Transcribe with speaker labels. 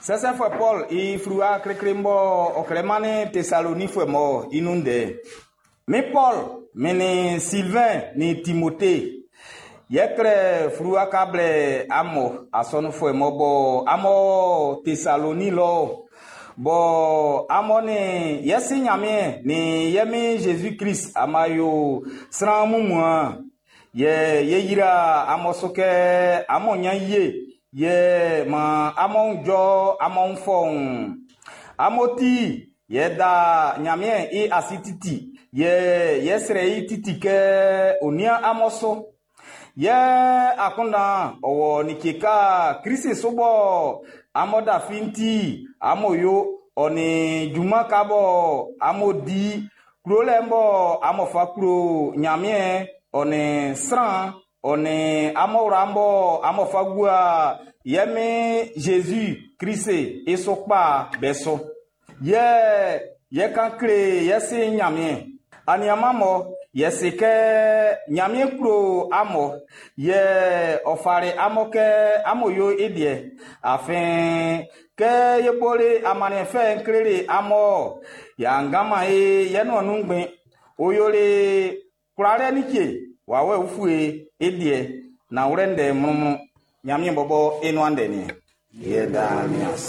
Speaker 1: Sɛsɛfuɛ Pɔlu i fluwa klikli mɔ ɔ klɛ mannin Tesalonifuɛ mun'n i nun ndɛ. Min Pɔlu, min nin Silvɛn nin Timote, yɛ klɛ fluwa kan blɛ amun asɔnunfuɛ mun bɔ amun o Tesaloni lɔ, bɔ amun nin yɛ Si Nyanmiɛn nin yɛ Min Zezi Klist amun yo sran wunmuan'n, yɛ ye yra amun su kɛ amun nyan ye, yɛ maan amun wun jɔ amun fɔuun. Amun ti yɛ da Nyanmiɛn i ase titi, yɛ yɛ srɛ i titi kɛ ɔ nian amun su. Yɛ akunndan ɔ wɔ like ka Klist su bɔ amun lafi'n ti amun yo, ɔ nin junman ka bɔ amun di, klolɛ bɔ amun fa klo Nyanmiɛn ɔ nin sran, ɔ nin amun wla bɔ amun fa gua yɛ Min Zezi Klist i su kpa be su. Yɛ yɛ kan kle yɛ Si Nyanmiɛn. Aniaan'm yɛ si kɛ Nyanmiɛn klo amun, yɛ ɔ fali amun kɛ amun yo i liɛ. Afin kɛ ye boli amanniɛn fɛ'n kleli amun, y'a ngaman e yɛ nuan nun ngbɛn. Ɔ yoli kwlalɛ like wawɛ ufue i liɛ. Nanwlɛ ndɛ mlɔnmlɔn. Nyanmiɛn bɔbɔ i nuan ndɛ nin. Yɛ da min ase.